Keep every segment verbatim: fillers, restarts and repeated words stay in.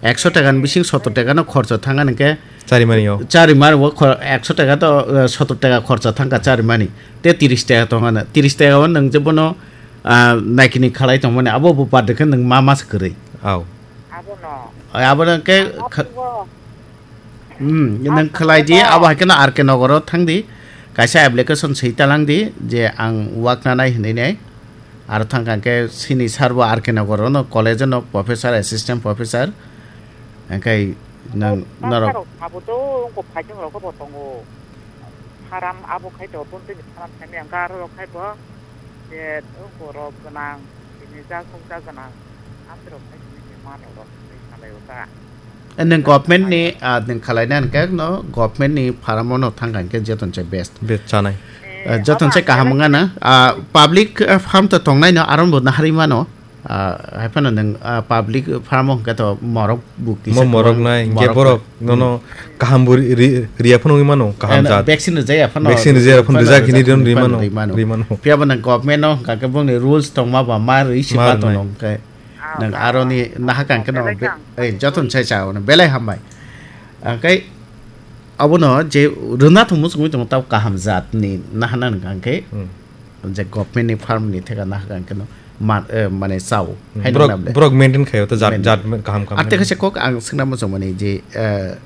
Ekso taka ni bising sotor taka no khorcho thang ani khe. Chari mani o. Chari mani o khor-, ekso taka to, eh, sotor taka khorcho thang kha chari mani. Te tiris taka tong ani. Tiris taka o nwng je bono, ah, naikini khalai tong mani. Abo bo bad khe nwng ma mas kwrwi. Au. Abo no. Abo no khe Ang kha-, abo bo. Hmm, nwng khlai di, abo hai kheno R K Nogoro thang di, kaisa application swi talang di je ang wak nanai hinwi nai. Aro thang kha khe sini sir bo R K Nogoro no college no professor, assistant professor. Hingkhe nwng norok. Abo to wngkha phaising rok bo tongo. Pharam abo khai to, tongtwini pharam khaimya, garo rok khai bo, je borok gwnang, tini jak nukjak gwnang, amtwrok khai tini se manrok rok tini salai o ta. Eh, nwng government ni, ah, nwng khalai na hwnkhe no government ni pharamo no thang kha hwnkhe joton se best. Best chanai. Eh, joton se kaham wngya na. Ah, public, ah, farm to tongnai no, aron bo naharwi mano. Ah, hai phano nwng, ah, public farm o hwnkhe to morok bo kisa Mo morok kwbang nai, hingke morok borok nai. Nono kaham bo ri-, ri-, riya phano wngwi mano, kaham Eh, jat. Vaccine rijaya phano Vaccine rijaya phano rijak hini rijak ri mano, ri mano. Ri mano. Phiya bo nwng government no hwnkha khe bongni rules tongma ba ma rwi se Ma ma rwnai. Tono hwnkhe. Nwng aroni naha kang khe no Belai be-, kang. Eh, joton sai cha ono belai hambai. Hwnkhe abono je rwna thwngmo chwngwi tongo tabo kaham jat ni naha nang hwnkha khe. Hmm. Je government ni farm ni theka na hwnkha khe no ma-, eh, mane chao. Hmm. Hai Borok, nang nable. Borok maintain khaio, ta jat, Maintain. Jat kaham kaham Ar tei maintain. Kaisa kok ang swngna muchung mani je, eh,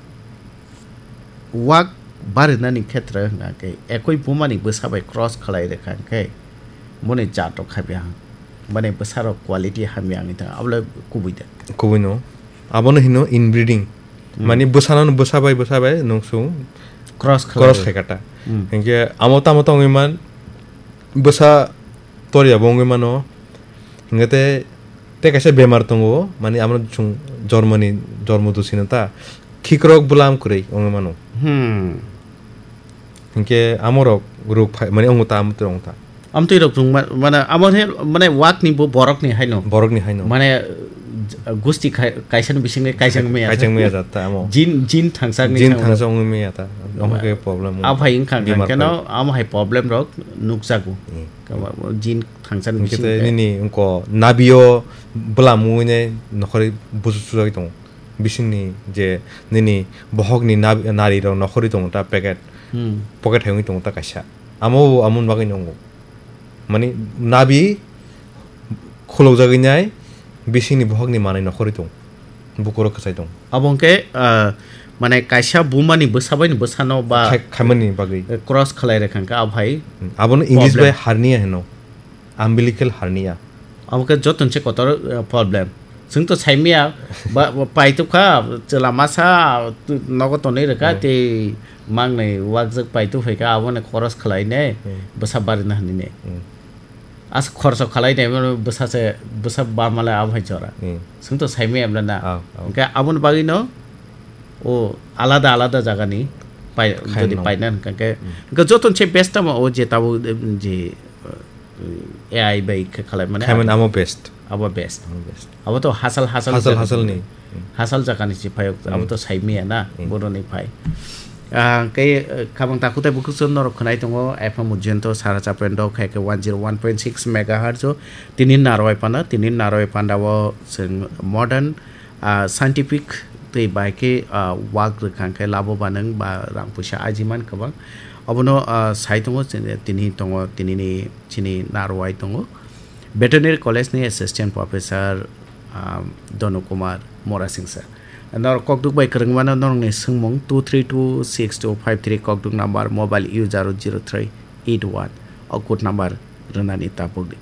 wak barinani khetre hwnkha khe ekoi buma ni bwsa bai cross khlai rwkha khe moni jat rok khabi ang. Mane bwsa rok quality hamya wngwi thang abole kubui da. Kubui no. Abono hino inbreeding. Hmm. Mani bwsano bwsa bai bwsa bai nungsung Cross khlai. Cross khai kata. Hmm. Hingke amo tamo tongwi man bwsa Toriya bo wngwi mano. Hingke te, te kaisa bemar tongo, mani amo chwng jormoni, jormo dusino ta khikrok bwlam kwrwi wngwi mano. Hmm. Hingke amorok rok phai, mani ongta, amo tei ongta. Amtwi rok chwng ma-, mane amo he, mane wakni bo borokni haino. Borokni haino. Mane, uh, gusti khai-, kaisani bisingni kaisang maya. Kaisang maya jat ta amo. Jin, jin thangsak ni Jin thangsa. Thangsa wngwi maya ta. Amo ke problem. Aphai wngkha Bemar keno, phai. Amo hai problem rok nukjago. Hmm. Kama, jin thangsan Hingke bising te te. Nini wngko nabio bwlam wngwi nai nokhorwi busu sujagwi tongo. Bisingni je nini bohokni nab-, narirok nokhorwi tongo ta packet, Hmm. Pocket hai wngwi tongo ta kaisa. Amo bo amoni bagwi nongo. Mani nabi khulokjagwi nai bisingni bohokni manwi nokhorwi tongo. Bukurok kwchai tongo. Abo hwnkhe, ah, mane kaisa bumani bwsa baini bwsano ba Khai-, khaimani bagwi. Cross khlai rwkha hwnkhe abo hai Hmm, abono English problem. Bai hernia hino. Umbilical hernia. Abo khe joto se kotor, eh, problem. Chwng to saimaya, ba, ba, paitwkha, chwla masa, tu-, nogo tonwi rwkha, Hmm. Tei mangnai wakjak paitwk phaikha, aboni cross khlainai, Hmm. Bwsa barina hinwi nai. Hmm. As khorso khlainai, mano bwsa se, bwsa bamale abo hai jora. Hmm. Chwng to saimaya emla na. Ah, ah. Hwnkhe aboni bagwino, o alada alada jagani pai-, Khaina jodi nango. Paina hwnkhe, Hmm. hwnkhe joto se best tamo o je tabuk, em, je, eh, A I bai khe khlai mane Khaimani abo. Amo best. Abo best. Amo best. Abo to hasal, hasal Hasal, jaga hasalni. ni. Hasal jagani si phai, abo Hmm. to saimaya na, Hmm. Boroni phai. Ah, kei, eh, khabang takhuk tei bukhuk chwng norok khwnai tongo, F M Ujjayanta Sara Chapendo, khai khe one zero one point six megahertz o. Tini narwai panda, tini narwai panda o chwng modern, ah, scientific tei bai khe, ah, wak rwkha khe labo ba nwng ba rang puisa ajiman kwbang. Obono, ah, sai tongo, chini, tini tongo, tinini chini narwai tongo. Veterinary College ni Assistant Professor, ah, Donu Kumar Morasingsa. Norok kokduk bai kwrwngmano norokni swngmung two three two six two five three, kokduk number, mobile user zero three eight one, o code number rwnani tabukdi.